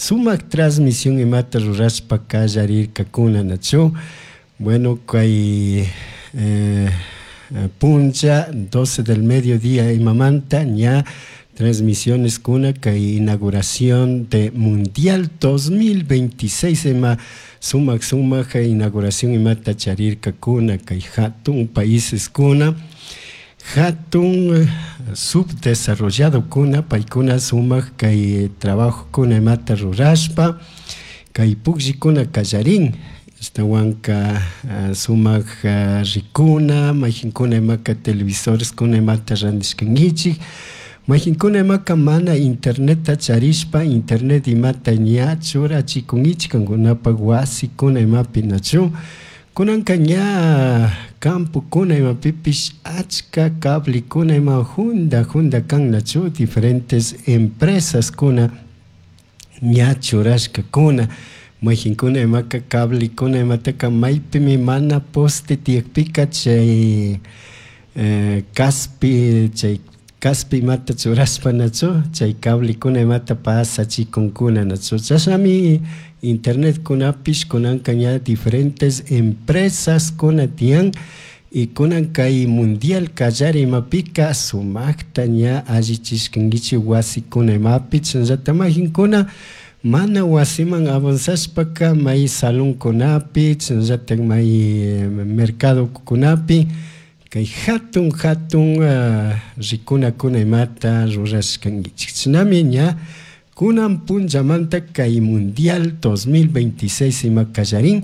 Sumak transmisión imata rurashpa kallarirkakuna nachu. Bueno, kay puncha 12 del mediodía imamanta ña transmisiones kuna kay inauguración de Mundial 2026 ima sumak sumak inauguración imata charirkakuna kay hatun países kuna hatun subdesarrollado kuna paykuna sumak kay trabajo kuna imata rurashpa kay pukllikuna kallarin ashtawanka sumak rikuna mayjinkuna imaka televisores kuna imata randishkankichik mayjinkuna imaka mana internetta charishpa internet imata ña churachikunkichik kankunapak wasikuna imapi nachu kunanka ña campokuna imapipish achka cablikuna ima junda junda kan nachu diferentes empresas kuna ña churashkakuna mayjinkuna imaka cablikuna imataka maypimi mana poste tiyakpika chay kaspi chay kaspi imata churashpa nachu chay cablikuna imata pasachikunkuna nachu chashnami internetkunapish kunanka ña diferentes empresas kuna tiyan y kunan kay mundial kallari imapika sumakta ña allichishkankichik wasikuna imapi chashnallata mayjinkuna mana wasiman avanzashpaka may salonkunapi chashnallata may mercadokunapi kay hatun hatun rikunakuna imata rurashkankichik chashnami ña kunan punchamanta kay mundial 2026 ima kallarin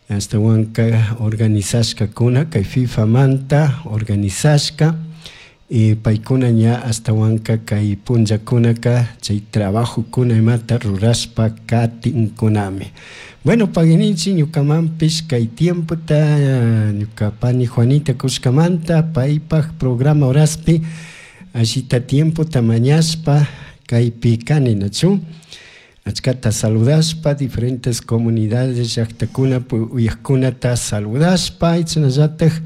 ashtawanka organizashkakuna kay FIFAmanta organizashka y paykuna ña ashtawanka kay punllakunaka chay trabajokuna imata rurashpa katinkunami. Bueno, pagui ninchik ñukamanpish kay tiempota ñuka pani Juanita kushkamanta paypak programa horaspi allita tiempota mañashpa kaypi kani nachu achkata saludashpa diferentes comunidades llaktakuna uyakkunata saludashpa chashnallatak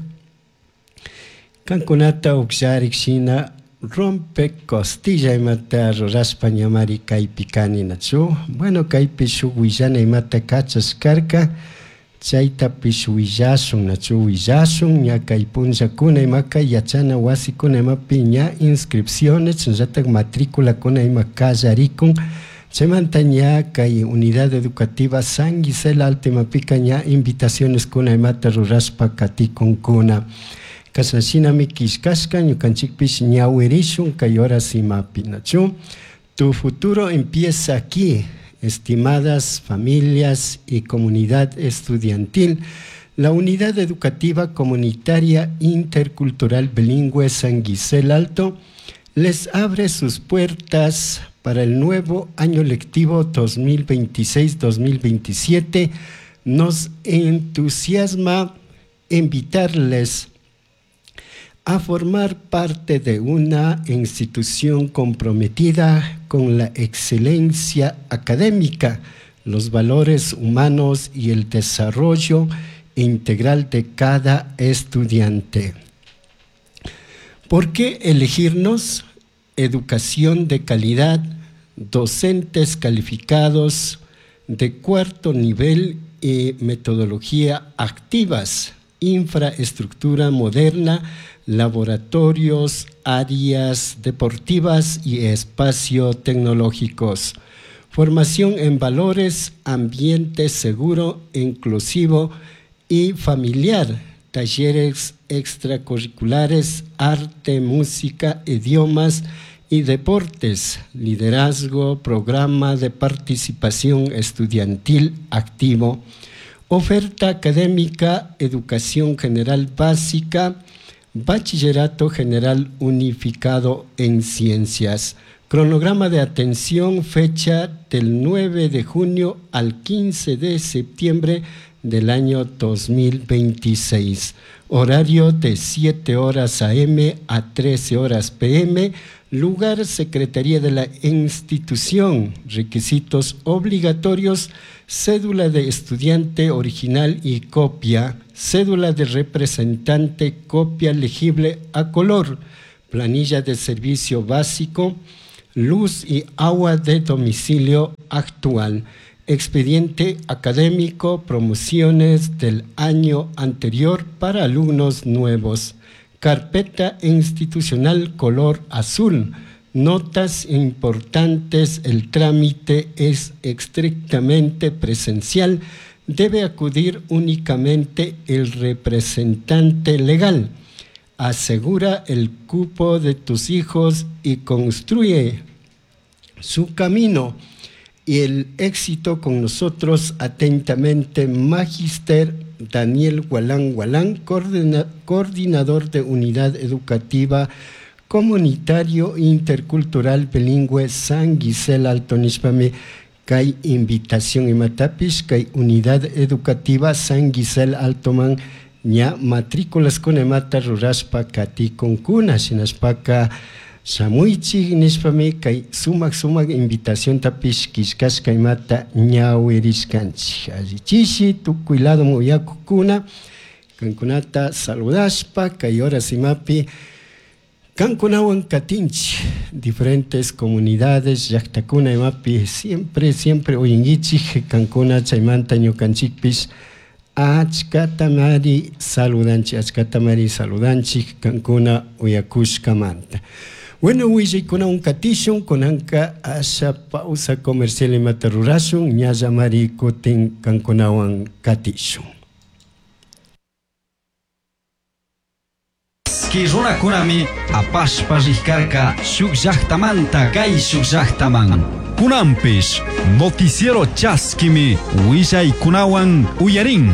kankunata ukllarik shina rompe costilla imata rurashpa ñamari kaypi kani nachu bueno kaypi shuk willana imata kachashkarka chaytapish willashun nachu willashun ña kay punllakuna imaka yachana wasikuna imapi ña inscripciones chashnallatak matriculakuna ima kallarikun chaymanta ña kay unidad educativa San Gisela Alto imapika ña invitaciones kuna imata rurashpa katikunkuna kashna shinami killkashka ñukanchikpish ñawirishun kay horas imapi nachu. Tu futuro empieza aquí, estimadas familias y comunidad estudiantil. La Unidad Educativa Comunitaria Intercultural Bilingüe San Gisela Alto les abre sus puertas para el nuevo año lectivo 2026-2027. Nos entusiasma invitarles a formar parte de una institución comprometida con la excelencia académica, los valores humanos y el desarrollo integral de cada estudiante. ¿Por qué elegirnos? Educación de calidad, docentes calificados de cuarto nivel y metodología activas, infraestructura moderna, laboratorios, áreas deportivas y espacio tecnológicos. Formación en valores, ambiente seguro, inclusivo y familiar, talleres extracurriculares, arte, música, idiomas y deportes, liderazgo, programa de participación estudiantil activo, oferta académica, educación general básica, bachillerato general unificado en ciencias. Cronograma de atención, fecha del 9 de junio al 15 de septiembre del año 2026. Horario de 7 horas AM a 13 horas PM. Lugar, Secretaría de la institución. Requisitos obligatorios, cédula de estudiante original y copia, cédula de representante, copia legible a color, planilla de servicio básico, luz y agua de domicilio actual. Expediente académico, promociones del año anterior para alumnos nuevos. Carpeta institucional color azul. Notas importantes, el trámite es estrictamente presencial. Debe acudir únicamente el representante legal. Asegura el cupo de tus hijos y construye su camino y el éxito con nosotros. Atentamente, Magister Daniel Gualán Gualán, coordinador de Unidad Educativa Comunitario Intercultural Bilingüe San Gisela Alto nishpami kay invitación imatapish kay Unidad Educativa San Gisela Altoman ña matrículas imata rurashpa katikunkuna shinashpaka shamuichik nishpami kay sumak sumak invitaciontapish killkashka imata ñawirishkanchik. Allichishi tukuy ladoman uyakukuna kankunata saludashpa kay horas imapi kankunawan katinchik diferentes comunidades llaktakuna imapi siempre siempre uyinkichik kankuna chaymanta ñukanchikpish achkatamari saludanchik, achkatamari saludanchik kankuna uyakushkamanta. Bueno, willaykunawan katishun, kunanka asha pausa comercial imata rurashun, ñallamari kutin kankunawan katishun. Ki runakunami apashpa rikarka shuk llaktamanta kay shuk llaktaman. Kunanpish noticiero chaskimi willaykunawan uyarin.